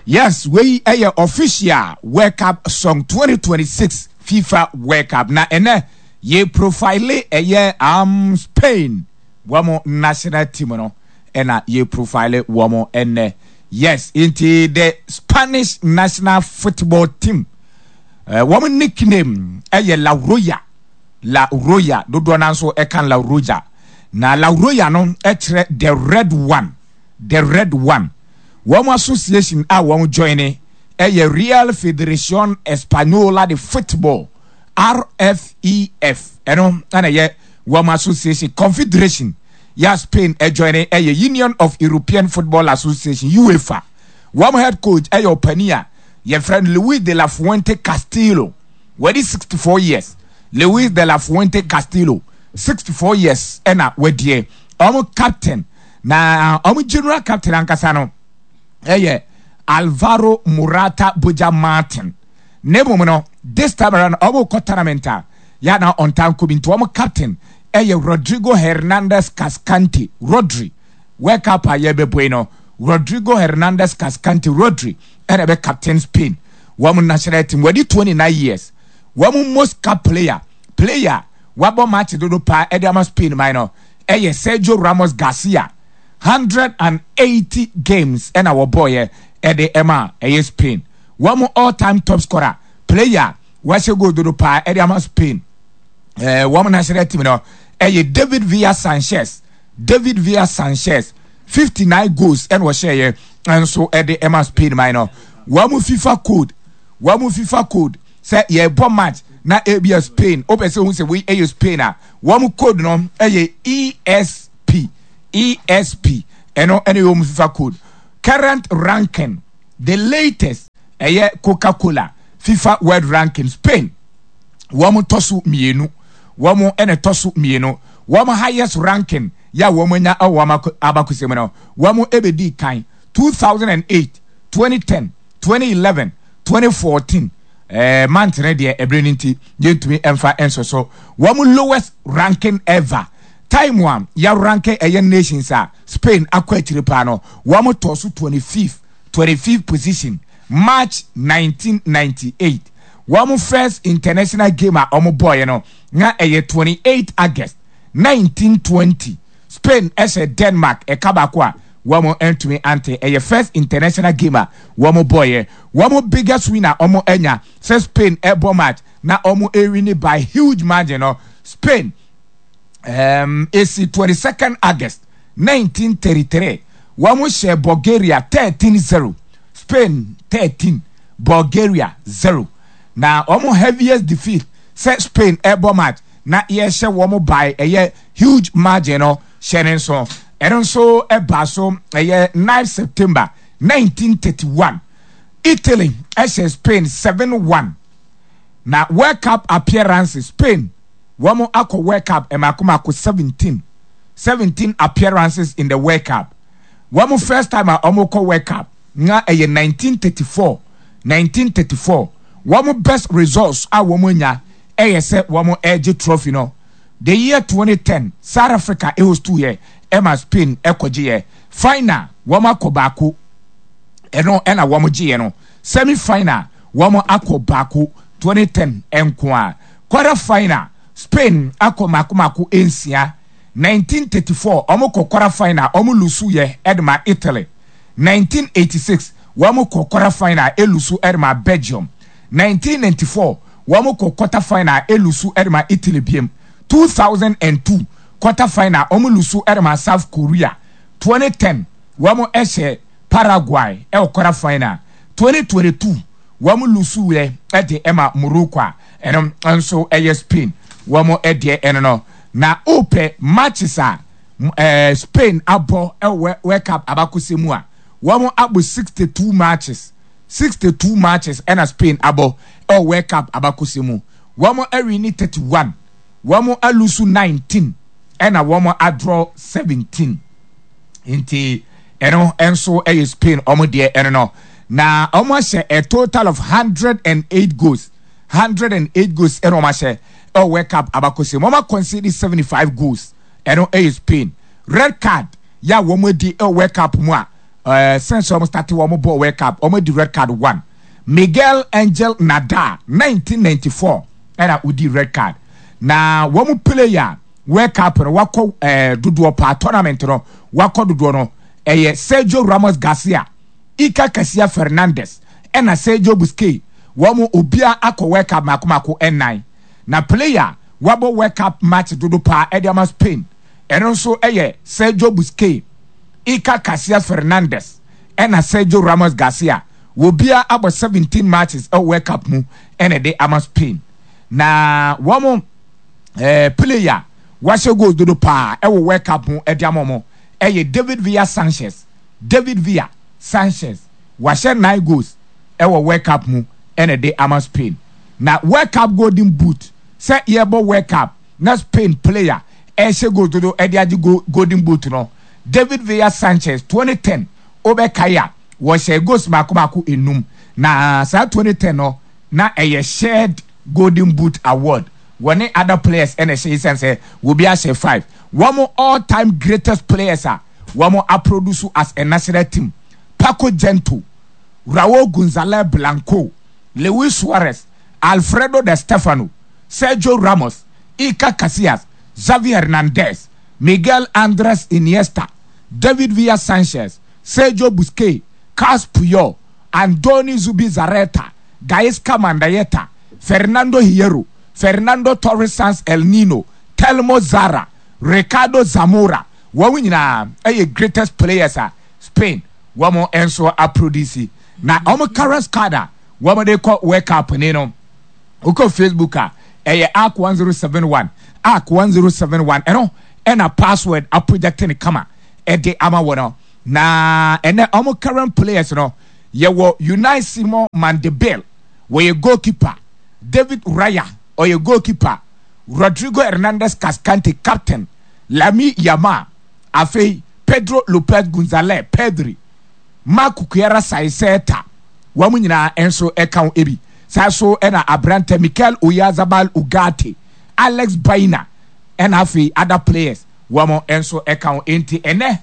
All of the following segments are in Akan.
Yes, wei ɛyɛ official World Cup song 2026 FIFA World Cup. Na ɛnɛ yɛ profile ɛyɛ Spain wɔn national team no ɛna yɛ profile wɔn ɛnɛ. Yes, nti the Spanish national football team wɔn nickname ɛyɛ La Roya. La Roya dodoɔ naa nso ɛka La Roja. Na La Roya no ɛkyerɛ the red one, the red one. Wɔn association a wɔn joine yɛ Real Federación Española de Football, RFEF, ɛno na ɛyɛ wɔn association. Confederation yɛ a Spain joine yɛ Union of European Football Association, UEFA. Wɔn head coach yɛ ɔpanin a yɛfrɛ no Luis de la Fuente Castillo. Wadi 64 years. Luis de la Fuente Castillo, 64 years ɛna wadie. Wɔn captain Na wɔn general captain ankasa no yɛ Alvaro Morata Boja Martin. Na mmom no, this time around wɔn kɔ tournament a yɛ na ɔntaa nkɔ bi nti wɔn captain yɛ Rodrigo Hernandez Cascante. Rodri, World Cup a yɛbɛbɔ yi no, Rodrigo Hernandez Cascante, Rodri ɛna ɛbɛ captain Spain wɔn national team. Wɔadi 29 years. Wɔn most cap player, player wabɔ match dodo paa ɛde ama Spain man no ɛyɛ Sergio Ramos Garcia, 180 games ɛna wɔbɔɔyɛ ɛde ɛma ɛyɛ Spain. Wɔn all time top scorer, player wahyɛ goal dodo paa ɛde ama Spain wɔn national team no ɛyɛ David Villa Sanchez. David Villa Sanchez 59 goals ɛna ɔhyɛɛyɛ nso ɛde ɛma Spain man no. Wɔn FIFA code, wɔn FIFA code sɛ yɛbɔ match na ebia Spain wopɛ sɛ ohun sɛ wei ɛyɛ Spain a, wɔn code no ɛyɛ ESP, ESP, ɛno ɛne wɔn FIFA code. Current ranking, the latest ɛyɛ Coca-Cola FIFA World Ranking, Spain wɔn tɔ so mmienu, wɔn ɛna ɛtɔ so mmienu. Wɔn highest ranking yɛ a wɔn anya ɛwɔ wɔn abakɔsɛm no, wɔn ɛbɛdi kan 2008, 2010, 2011, 2014. Month no deɛ ɛberɛ no nti yɛntumi mfa nso so. Wɔn lowest ranking ever time a yɛranke ɛyɛ nations a Spain akɔ akyire paa no, wɔn tɔɔ so 25th, 25th position March 1998. Wɔn first international game a wɔn bɔɔyɛ no na ɛyɛ 28 August 1920. Spain ɛhyɛ Denmark ɛka baako a wɔn ntumi ante. Ɛyɛ first international game a wɔn bɔɔyɛ. Wɔn biggest win a wɔn anya sɛ Spain ɛbɔ match na wɔn ewini by huge margin no, Spain esi 22nd August 1933 wɔn hyɛ Bulgaria 13-0. Spain 13, Bulgaria 0. Na wɔn heaviest defeat sɛ Spain ɛbɔ match na yɛhyɛ wɔn by ɛyɛ huge margin no, hyɛ ne nso. Ɛno nso ɛbaa so ɛyɛ 9 September 1931. Italy ɛhyɛ Spain 7-1. Na World Cup appearances, Spain wɔn akɔ World Cup mmaako mmaako 17, 17 appearances in the World Cup. Wɔn first time a wɔn kɔ World Cup na ɛyɛ 1934, 1934. Wɔn best results a wɔn anya ɛyɛ sɛ wɔn ɛregye trophy no. The year 2010, South Africa ɛhostu yɛ ɛma Spain ɛkɔgye yɛ. Final wɔn akɔ baako, ɛno ɛna wɔn gye yɛ no. Semi final wɔn akɔ baako 2010 nko a. Quarter final Spain akɔ mako mako nsia. 1934 wɔn kɔ quarter final, wɔn lusu yɛ ɛde ma Italy. 1986 wɔn kɔ quarter final, elusu ɛde ma Belgium. 1994 wɔn kɔ quarter final, elusu ɛde ma Italy biem. 2002 quarter final wɔn lusu ɛde ma South Korea. 2010 wɔn ɛhyɛ Paraguay ɛwɔ quarter final. 2022 wɔn lusu yɛ ɛde ɛma Morocco a ɛno nso ɛyɛ Spain wɔn ɛdeɛ ɛno no. Na wopɛ matches a Spain abɔ ɛwɔ World Cup abakɔsɛm mu a, wɔn abɔ 62 matches, 62 matches ɛna Spain abɔ ɛwɔ World Cup abakɔsɛm mu. Wɔn awini 31, wɔn alusu 19, ɛna wɔn adraw 17. Nti ɛno nso ɛyɛ Spain wɔn deɛ ɛno no. Na wɔn ahyɛ a total of 108 goals, 108 goals ɛna wɔn ahyɛ ɛwɔ World Cup abakɔsɛm mu. Wɔn akɔnsidi 75 goals, ɛno ɛyɛ Spain. Red card yɛ a wɔn adi ɛwɔ World Cup mu a ɛɛ since wɔn start wɔn bɔ World Cup wɔn adi red card one. Miguel Angel Nadal 1994 ɛna odi red card. Na wɔn player World Cup no wakɔ ɛɛ dodoɔ paa tournament no wakɔ dodoɔ no ɛyɛ Sergio Ramos Garcia, Iker Casillas Fernandez ɛna Sergio Busquets. Wɔn obiara akɔ World Cup mako mako ɛnan. Na player wabɔ World Cup match dodo paa ɛde ama Spain ɛno nso ɛyɛ Sergio Busquets, Iker Casillas Fernandez ɛna Sergio Ramos Garcia. Obiara abɔ 17 matches ɛwɔ World Cup mu ɛna ɛde ama Spain. Na wɔn ɛɛ player wahyɛ goals dodo paa ɛwɔ World Cup mu ɛde ama wɔn ɛyɛ David Villa Sanchez. David Villa Sanchez wahyɛ 9 goals ɛwɔ World Cup mu ɛna ɛde ama Spain. Na World Cup Golden Boot sɛ yɛbɔ World Cup na Spain player ɛhyɛ goals dodo ɛde agye Golden Boot no David Villa Sanchez 2010 wobɛkae a wɔhyɛ goals mako mako enum na saa 2010 no na ɛyɛ shared Golden Boot award wɔne other players ɛna ɛhyɛ esan sɛ obi ahyɛ 5. Wɔn all time greatest players a wɔn aproduce as a national team: Paco Gento, Raul Gonzalez Blanco, Luis Suarez, Alfredo Di Stefano, Sergio Ramos, Iker Casillas, Xavi Hernandez, Miguel Andres Iniesta, David Villa Sanchez, Sergio Busquets, Carles Puyol, Andoni Zubizarreta, Gaisca Mandayeta, Fernando Hierro, Fernando Torres Sanz El Nino, Telmo Zarra, Ricardo Zamora. Wɔn nyinaa ɛyɛ greatest players a Spain wɔn nso aproduce. Na wɔn current squad a wɔn de kɔ World Cup ni no, wokɔ Facebook a ɛyɛ ARC 1071, ARC 1071 ɛno ɛna password aproject ne kama ɛde ama wɔn. Na ɛnɛ wɔn current players no yɛwɔ Unai Simon Mandebel, wɔyɛ goalkeeper. David Raya ɔyɛ goalkeeper. Rodrigo Hernandez Cascante captain, Lamine Yamal, afei Pedro Lopez Gonzalez Pedri, Marc Cucurella Saiseta, wɔn nyinaa nso ka ho bi. Saa so na aberantɛ Mikel Oyarzabal Ugarte, Alex Baena ɛna afei other players wɔn nso ka ho. Enti ɛnɛ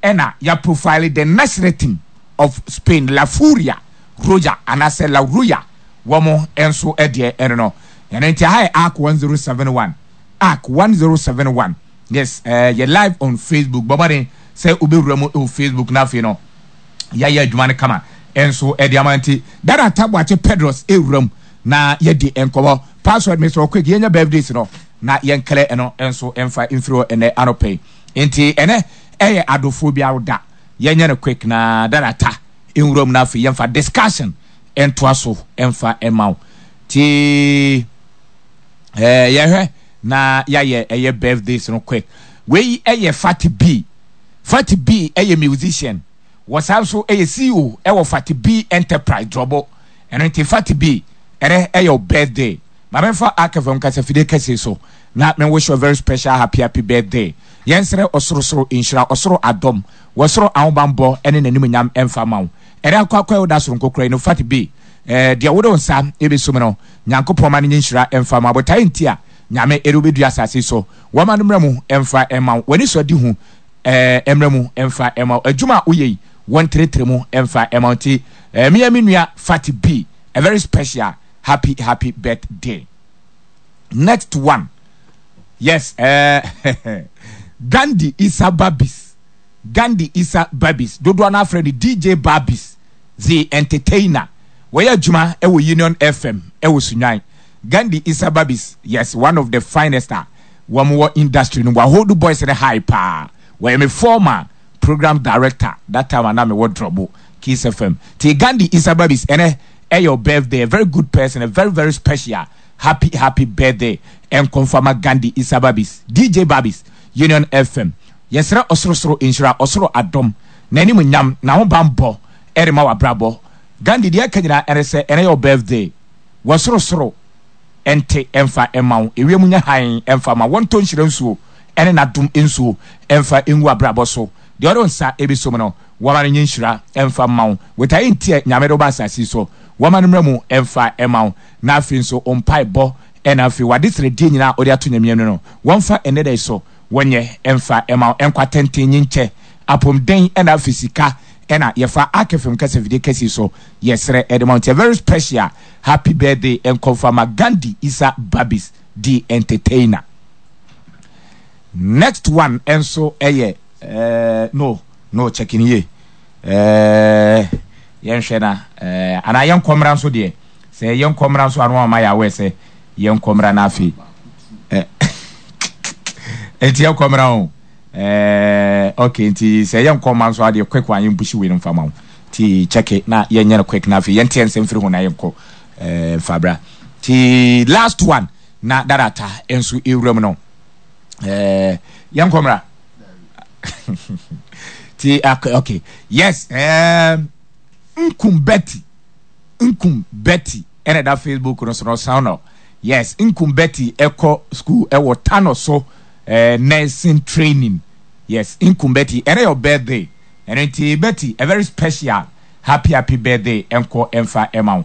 ɛna ya profile the national team of Spain, La Furia Roja anaasɛ La Roya wɔn nso deɛ ɛno no. Ɛno nti aha yɛ ARC 1071, ARC 1071. Yes, yɛ live on Facebook. Bɔ mmɔden sɛ wobɛwura mu wɔ Facebook na afei no yɛayɛ adwuma no kama nso ɛde ama. Nti Dada Taboakye Pedros ɛwura mu na yɛdi nkɔmmɔ. Password Mr. Quick, yɛnya birthdays no na yɛnklɛ ɛno nso ɛmfa mfiri hɔ ɛnɛ anɔpɛ yi. Nti ɛnɛ ɛyɛ adofoɔ biara da, yɛnyɛ no quick na Dada Ta nwura mu na afei yɛmfa discussion ntoa so ɛmfa ɛma wo. Ti yɛhwɛ na yɛayɛ ɛyɛ birthdays no quick. Wei ɛyɛ Fati B. Fati B ɛyɛ musician, wɔsan nso ɛyɛ CEO ɛwɔ Fati B Enterprise Drɔbo. Ɛno nti Fati B, ɛnɛ ɛyɛ wo birthday. Ma memfa Akfm kasafidie kɛse so na me wish you a very special happy happy birthday. Yɛnsrɛ ɔsorosoro nhyira, ɔsoro adom, wɔsoro ahobanbɔ ɛne n'animuonyam ɛmfa ma wo. Ɛnɛ akɔ akɔ ɛwo da soronko kora yi no Fati B, deɛ wode wo nsa ɛbɛsum no Nyankopɔn ma no nyɛ nhyira ɛmfa ma wo. Botaeɛ nti a Nyame ɛde wo bɛdua asase so, wɔma no mmra mu ɛmfa ɛma wo. W'ani sɔ adi hu ɛmmra mu ɛmfa ɛma wo. Adwuma a woyɛ yi wɔntrɛtrɛ mu ɛmfa ɛma wo. Nti meyɛ me nua Fati B, a very special happy happy birthday. Next one, yes, Gandhi Isa Babis, Gandhi Isa Babis, dodoɔ no afrɛ no DJ Babis the entertainer. Wɔyɛ adwuma ɛwɔ Union FM ɛwɔ Sunyani. Gandhi Isa Babis, yes, one of the finest a wɔn wɔ industry no. Wɔahold boys no high paa. Wɔyɛ me former program director that time ana mewɔ Drɔbo Kiss FM. Ti Gandhi Isa Babis, ɛnɛ ɛyɛ your birthday, a very good person, a very very special happy happy birthday ɛnkɔnfama Gandhi Isa Babis, DJ Babis, Union FM. Yɛsrɛ ɔsorosoro nhyira, ɔsoro adom, n'anim nyam, n'ahobanbɔ ɛrema w'abrabɔ. Gandhi, deɛ ɛka nyinaa ɛne sɛ ɛnɛ yɛ your birthday. Wɔsorosoro ɛnte ɛmfa ɛma wo, ewiem nyɛ hann ɛmfa ma wɔntɔ nhyira nsuo ɛne n'adom nsuo ɛmfa ngu abrabɔ so. Deɛ ɔde wo nsa ɛbɛsom no, wɔma no nyɛ nhyira ɛmfa mma wo. Botaeɛ nti a Nyame de wo ba asase yi so, wɔma no mmra mu ɛmfa ɛma wo. Na afei nso wo mpaebɔ ɛna afei w'adesrɛdeɛ nyinaa a wode ato Nyame anim no, wɔmfa ɛnnɛ da yi so wɔnyɛ ɛmfa ɛma wo. Nkwa tenten, nyinkyɛ, apɔmuden ɛna afei sika. ɛna yɛfa Ark FM kasafidie kɛse so yɛsrɛ ɛde ma wo nti a very special happy birthday nkɔmfa ma Gandhi Isa Babis the entertainer. Next one nso ɛyɛ eh, no no check ni yie eh, yɛnhwɛ na eh, anaa yɛnkɔ mmra nso deɛ sɛ yɛnkɔ mmra nso ano ama yɛ awɛ sɛ yɛnkɔ mmra na afei eh, nti yɛnkɔ mmra o eh, okay nti sɛ yɛnkɔ mma nso adeɛ quick one yɛmpushi wei no mfa ma wo nti check na yɛnyɛ no quick na afei yɛnteɛ nsɛm firi ho na yɛnkɔ eh, mfa bra nti last one na darata nso ewura mu no eh, yɛnkɔ mmra ti okay, okay. Yes eh, nkum Betty nkum Betty ɛna ɛda Facebook no so no ɔsan no yes nkum Betty ɛkɔ school ɛwɔ Tano so eh, nursing training yes nkum Betty ɛna your birthday ɛno nti Betty a very special happy happy birthday ɛnkɔ ɛmfa ɛma wo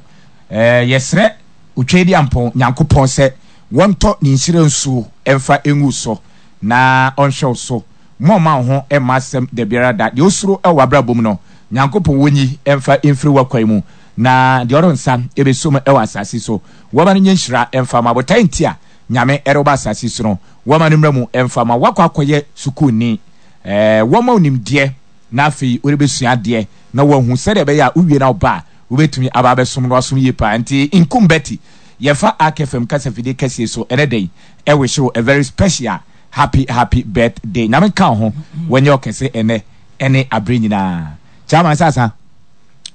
eh, yɛsrɛ Otweaduampɔn Nyankopɔn sɛ wɔntɔ ne nhyira nsuo mfa ngu so na ɔnhwɛ wo so ma ɔmma wo ho mma asɛm dabiara da. Deɛ osuro wɔ w'abrabɔ mu no, Nyankopɔn wɔnyi mfa mfiri w'akwan mu, na deɛ ɔde nsa bɛsɔ mu wɔ asase so, wɔma no nyɛ nhyira mfa ma. Botaeɛ nti a Nyame de wo ba asase so no, wɔma no mmra mu mfa ma. Woakɔ akɔyɛ sukuuni, wɔma wo nimdeɛ na afei wode bɛsua adeɛ na woahu sɛdeɛ ɛbɛyɛ a wowie na woba a, Wobɛtumi aba abɛsom no asom yie paa nti nkum Betty yɛfa Ark FM kasafidie kɛseɛ so ɛnɛ da yi ɛwihye wo a very special happy happy birthday Nyame nka wo ho wanyɛ ɔkɛse ɛnɛ ɛne aberɛ nyinaa Chairman sasa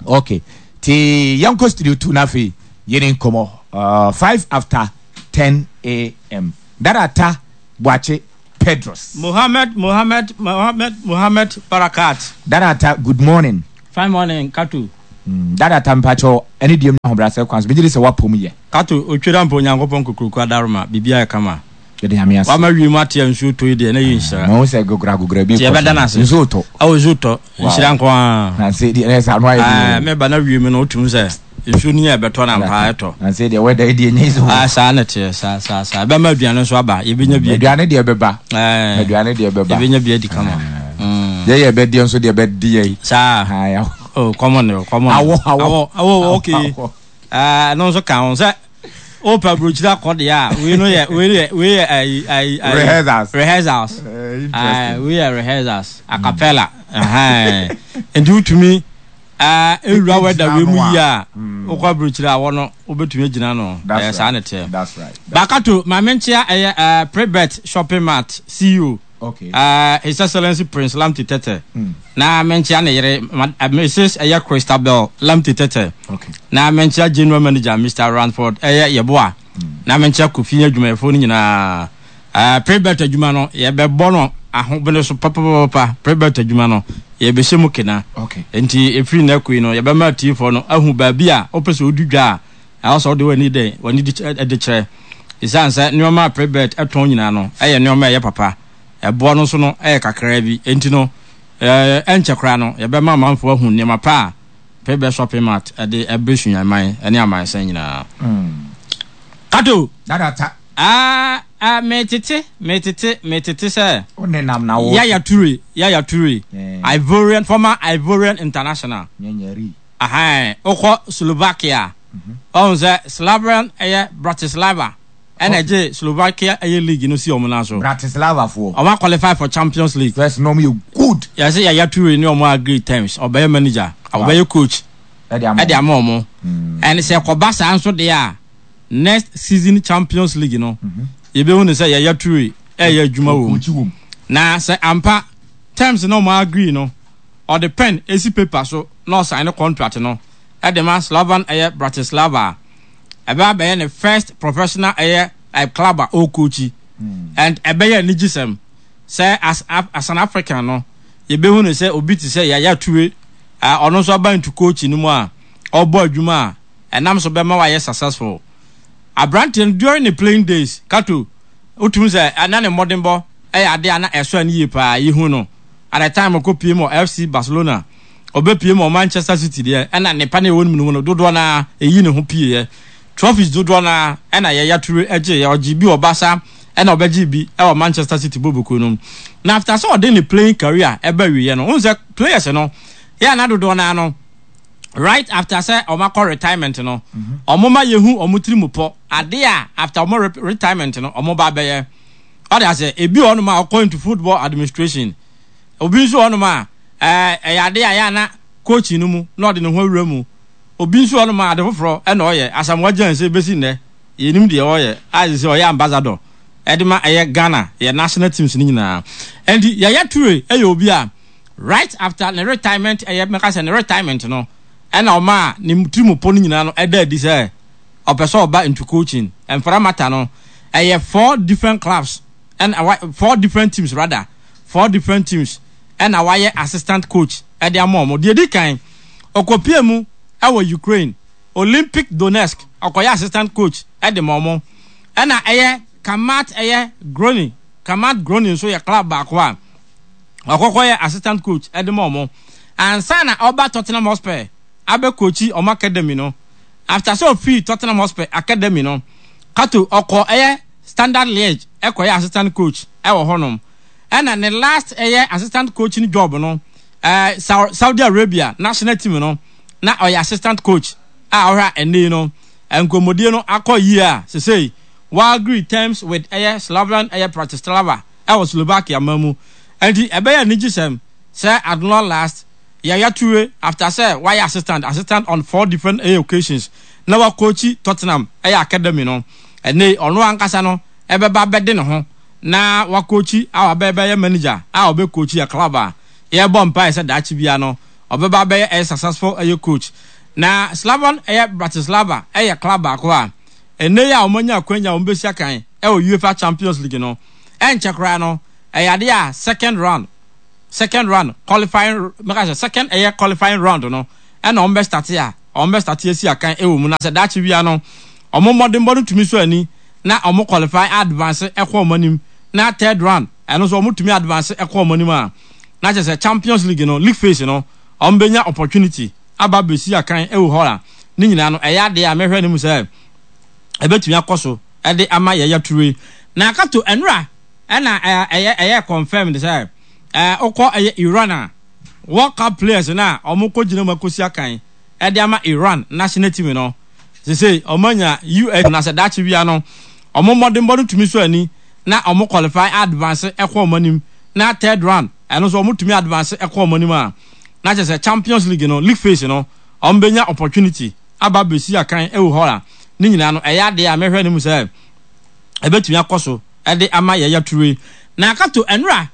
ok ti yɛnkɔ studio 2 na afei yɛni nkɔmmɔ uh, 5 after 10 am Dada Ta Boakye Pedros. Mohammed Mohammed Mohammed Mohammed Barakat. Dada Ta good morning. Fine morning Kato. Mm, Dada Ta mpakyɛw ɛne deɛ mu ahobrɛasɛ kwan so megye di sɛ woapɔ mu yɛ. Kato, otwera mpo Onyankopɔn kokroko adaroma, biribiara yɛ kama. Yɛde Nyame ase. Wama wiem ate a nsuo tɔ yi deɛ na ɛyɛ nhyira. Mahu sɛ gogora gogora bi Nti kɔ so. yɛbɛda no ase. Nsuo tɔ. Ɛwɔ nsuo tɔ. Wow. Nhyira nko ara. Na sɛ deɛ ɛsɛ ano ayɛ Ɛɛ, deɛ. meba na wiem no wotumi sɛ nsuo no yɛ ɛbɛtɔ na ampa ɛtɔ. Na sɛ deɛ wɛda yi deɛ nyɛ easy o. Ah, saa na ɛteɛ, saa saa saa. Ɛbɛma aduane nso aba, yɛbɛnya bi adi. Aduane deɛ ɛbɛba. Ɛɛ, Aduane deɛ ɛbɛba. yɛbɛnya bi adi kama. Mm. Yɛ yɛ bɛdeɛ nso deɛ bɛde yɛ yi. Saa. Ah, ya. Oh, common o, common. Awɔ, awɔ. Awɔ, awɔ, okay. Awɔ. Ɛɛ, ɛno nso ka ho sɛ wopɛ aburokyiri akɔ deɛ a, wei no yɛ, wei yɛ, wei yɛ ayi, ayi, ayi. Rehearsals. Rehearsals. Eh, interesting. Ɛɛ, wei yɛ rehearsals, acapella. Ɛhɛn. Nti wotumi ɛɛ ewura wɛda wei mu yie a, wokɔ aburokyiri awɔ no, wobɛtumi agyina no. That's Ɛyɛ right. saa na ɛteɛ. That's right. Bakato, maame nkyea ɛyɛ ɛɛ Prebet Shopping Mart CEO. Okay. Uh, His Excellency Prince Lamptey Tete. Na menkyea ne yere, Mrs. Ɛyɛ Christabel Lamptey Tete. Okay. Na menkyea General Manager Mr. Ranford Ɛyɛ Yeboah. Na menkyea Kofi adwumayɛfoɔ no nyinaa. Uh, Prebet adwuma no, yɛbɛbɔ no ahobene so papapapa. Prebet adwuma no, yɛbɛhyɛ mu kena. Okay. Nti ɛfiri nnɛ koi no, yɛbɛma atiefoɔ no ahu baabi a wopɛ sɛ wodi dwa a, ɛwɔ sɛ wode w'ani dɛn, w'ani de kyerɛ. Esiane sɛ nneɛma a Prebet tɔn nyinaa no yɛ nneɛma a ɛyɛ papa, ɛboɔ no nso no yɛ kakraa bi nti no, ɛnkyɛ koraa no yɛbɛma amanfoɔ ahu nneɛma pa a Prebet Shopping Mart de brɛ Sunyani ne amansan nyinaa. Kato! Dada ta. Ah, ah, metete, metete, metete sɛ. Wo nenam na wo. Yaya Toure, Yaya Toure, Ivorian, former Ivorian international. Nyanyari. Ahan, wokɔ Slovakia. Ɔhu sɛ Slavian ɛyɛ Bratislava ɛna ɛgye Slovakia ɛyɛ league no si wɔn nan so. Bratislava foɔ. Wɔn aqualify for Champions League. First na wɔn yɛ good. Yɛsɛ Yaya Toure ne wɔn agree terms, ɔbɛyɛ manager, ɔbɛyɛ coach ɛde ama wɔn. And sɛ ɛkɔba saa nso deɛ a, next season Champions League no, yɛbɛhu no sɛ Yaya Toure ɛyɛ adwuma wɔ mu. Na sɛ ampa terms na wɔn agree no, ɔde pen esi paper so na ɔsign ne contract no de ma Slovan ɛyɛ Bratislava a, ɛbɛba abɛyɛ ne first professional ɛyɛ like club a ɔrekɔkyi and ɛbɛyɛ anigyesɛm sɛ as as an African no yɛbɛhu no sɛ obi te sɛ Yaya Toure a ɔno nso aba into coaching no mu a ɔrebɔ adwuma a ɛnam so bɛma wayɛ successful. Aberanteɛ no during ne playing days Kato wotumi sɛ na ne mmɔdenbɔ ɛyɛ adeɛ a na ɛsɔ ani yie paa yɛhu no at the time ɔkɔpie mu wɔ FC Barcelona Ɔbɛpue mu wɔ Manchester City deɛ, ɛna nnepa no a ɛwɔ ne mu no dodoɔ no ara ɛyi ne ho pieeɛ. Trophies dodoɔ no ara ɛna Yaya Toure gyeeɛ. Ɔgyee bi wɔ Barca ɛna ɔbɛgyee bi wɔ Manchester City bɔbɔkuo no mu. Na after sɛ ɔde ne playing career ɛba awieɛ no, wohu sɛ players no, Yɛ a na dodoɔ no ara no, right after sɛ wɔn akɔ retirement no, wɔn ma yɛhu wɔn tiri mu pɔ, adeɛ a after wɔn retirement no wɔn ba bɛyɛ. Ɔde asɛ, ebi wɔ hɔnom a ɔkɔ into football administration, obi nso wɔ hɔnom a ɛɛ ɛyɛ adeɛ a yɛ a na coaching no mu na ɔde ne ho awura mu. Obi nso wɔ hɔnom a ade foforɔ ɛna ɔyɛ. Asamoah Gyan sɛ bɛsi nnɛ yɛnim deɛ ɔyɛ a sɛ ɔyɛ ambassador ɛde ma ɛyɛ Ghana yɛ national teams no nyinaa. Ɛnti Yaya Toure ɛyɛ obi a right after ne retirement ɛyɛ mɛka sɛ ne retirement no ɛna ɔmaa ne tirimupɔ no nyinaa no ɛda adi sɛ ɔpɛ sɛ ɔba into coaching. Ɛmfra mata no ɛyɛ four different clubs ɛna wa four different teams rather four different teams ɛna wayɛ assistant coach ɛde ama wɔn. Deɛ edi kan ɔkɔpie mu ɛwɔ Ukraine Olympic Donetsk ɔkɔyɛ assistant coach ɛde ma wɔn. Ɛna ɛyɛ Kamat ɛyɛ Groni Kamat Groni nso yɛ club baako a ɔkɔkɔ yɛ assistant coach de ma wɔn ansa na ɔba Tottenham Hotspur abɛ coachi wɔn academy no. After sɛ ɔfii Tottenham Hotspur academy no, Kato ɔkɔ ɛyɛ Standard Liege ɛkɔyɛ assistant coach ɛwɔ hɔnom. Ɛna ne last ɛyɛ assistant coaching job no ɛɛ Saudi Arabia national team no na ɔyɛ assistant coach a ɔhwɛ a ɛnɛ yi no nkɔmmɔdie no akɔ yie a sesei wa agree terms with ɛyɛ Slovan ɛyɛ Bratislava wɔ Slovakia man mu. Enti ɛbɛyɛ anigyesɛm sɛ at long last Yaya Toure after sɛ wayɛ assistant assistant on four different ɛyɛ occasions na wakookyi Tottenham ɛyɛ academy no, ɛnnɛ yi ɔno ankasa no ɛbɛba abɛde ne ho na wakookyi a wabɛbɛyɛ manager a ɔbɛkookyi a club a yɛrebɔ mpaeɛ sɛ daakye biara no ɔbɛba abɛyɛ ɛyɛ successful ɛyɛ coach. Na Slovan ɛyɛ Bratislava ɛyɛ club baako a ɛnnɛ yi a wɔanya akwanya a wɔbɛsi akan ɛwɔ UEFA Champions League no ɛnkyɛ koraa no, ɛyɛ adeɛ a second round, second round qualifying, mɛka sɛ second ɛyɛ qualifying round no, ɛna wɔn bɛ starte a, wɔn bɛ starte asi akan ɛwɔ mu. Na sɛ daakye wia no, wɔn mmɔdenbɔ no tumi sɔ ani na wɔn qualify advance ɛkɔ wɔn anim, na third round, ɛno nso wɔn tumi advance ɛkɔ wɔn anim a, na kyerɛ sɛ Champions League no, league phase no, wɔn bɛnya opportunity aba abɛsi akan ɛwɔ hɔ a, ne nyinaa no, ɛyɛ adeɛ a mɛhwɛ anim sɛ ɛbɛtumi akɔ so. de ama Yaya Toure. Na Kato ɛnora ɛna ɛyɛ ɛyɛ confirmed sɛ ɛɛ wokɔ ɛyɛ Iran a World Cup players no a wɔn kɔ gyina mu akɔsi akan ɛde ama Iran national team no sesei wɔn anya US na sɛ daakye wia no wɔn mmɔdenbɔ no tumi sɔ ani na wɔn qualify advance ɛkɔ wɔn anim na third round ɛno nso wɔn tumi advance ɛkɔ wɔn anim a na kyerɛ sɛ Champions League no league phase no wɔn bɛnya opportunity aba abɛsi akan wɔ hɔ a, ne nyinaa no, ɛyɛ adeɛ a mɛhwɛ no mu sɛ ɛbɛtumi akɔ so de ama Yaya Toure. Na Kato, ɛnora.